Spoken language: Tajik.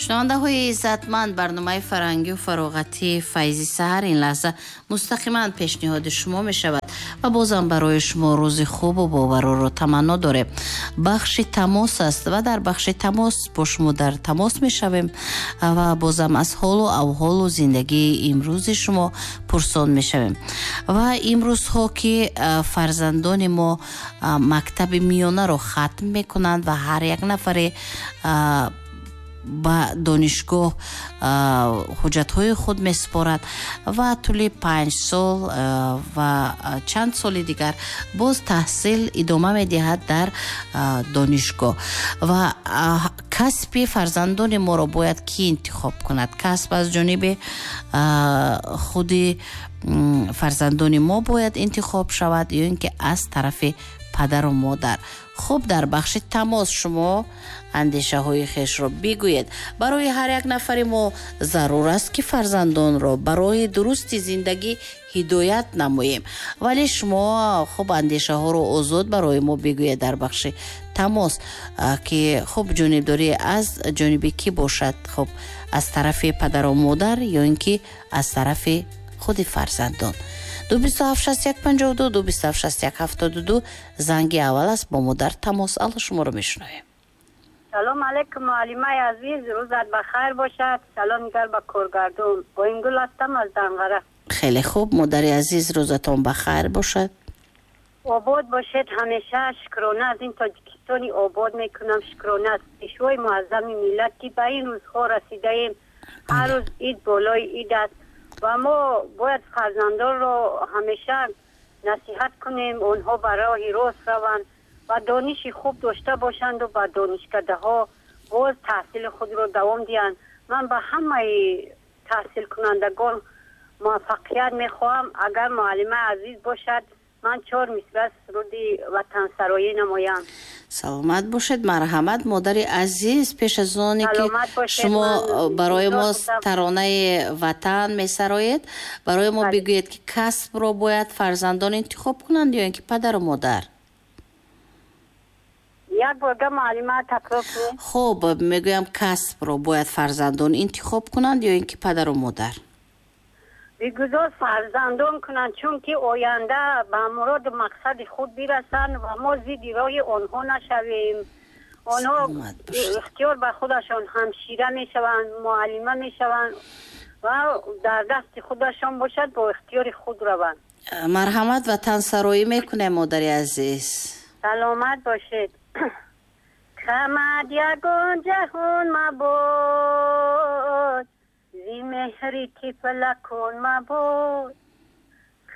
Шунавандаҳои иззатманд, барномаи фарҳангию фароғатии «Файзи саҳар» ин лаҳза мустақиман пешниҳоди шумо мешавад ва бозам барои шумо рӯзи хубу боварорро таманно дорем. Бахши тамос аст ва дар бахши тамос бо шумо дар тамос мешавем ва бозам аз ҳолу авҳолу зиндагии имрӯзи шумо пурсон мешавем. Ва имрӯзҳо ки фарзандони мо мактаби миёнаро хатм мекунанд ва ҳар як нафаре ба донишгоҳ ҳуҷҷатҳои худ месупорад ва тӯли 5 сол ва чанд соли дигар боз таҳсил идома медиҳад дар донишгоҳ. Ва касби фарзандони моро бояд кӣ интихоб кунад? Касб аз ҷониби худи фарзандони мо бояд интихоб шавад ё ин ки аз тарафи падару модар? Хуб, дар бахши тамос шумо андешаҳои хешро бигӯед. Барои ҳар як нафари мо зарур аст, ки фарзандонро ба роҳи дурусти зиндагӣ ҳидоят намоем, вале шумо хуб андешаҳоро озод барои мо бигӯед дар бахши тамос, ки хуб, ҷонибдорӣ аз ҷониби кӣ бошад? Хуб, аз тарафи падару модар ё ин ки аз тарафи худи фарзандон? 227 61 52, 227 61 72 занги аввал аст. Бо мо дар тамос. Алло, шуморо мешунавем. Салом алейкум, муаллимаи азиз, рӯзат ба хайр бошад. Салом дигар ба коргардон. Оингул ҳастам аз Данғара. Хеле хуб, модари азиз, рӯзатон ба хайр бошад. Обод бошед ҳамеша. Шукрона аз ин Тоҷикистони обод мекунам, шукрона аз Пешвои муаззами миллат, ки ба ин рӯзҳо расидаем. Ҳар рӯз ид болои ид аст ва мо бояд фарзандонро ҳамеша насиҳат кунем, онҳо ба роҳи рост раванд ва дониши хуб дошта бошанду ба донишкадаҳо боз таҳсили худро давом диҳанд. Ман ба ҳамаи таҳсилкунандагон муваффақият мехоҳам. Агар муаллимаи азиз бошад, ман чор мисра суруди ватансароӣ намоям. Саломат бошед, марҳамат, модари азиз. Пеш аз оне ки Саломат бошед, шумо ман барои мо интизор будам. таронаи ватан месароед, барои мо Бале. бигӯед, ки касбро бояд фарзандон интихоб кунанд ё ин ки падару модар? Як борга, муаллима, такрор кунед. Хуб, мегӯям, касбро бояд фарзандон интихоб кунанд ё ин ки падару модар? Бигузор фарзандон кунанд, чунки оянда ба муроду мақсади худ бирасанд ва мо зидди роҳи онҳо нашавем. Онҳо Саломат бошед. ихтиёр ба худашон, ҳамшира мешаванд, муаллима мешаванд ва дар дасти худашон бошад, бо ихтиёри худ раванд. Марҳамат, ватансароӣ мекунем, модари азиз. Саломат бошед. Хамад ягон ҷаҳон мабод, зи меҳри тифлакон мабод.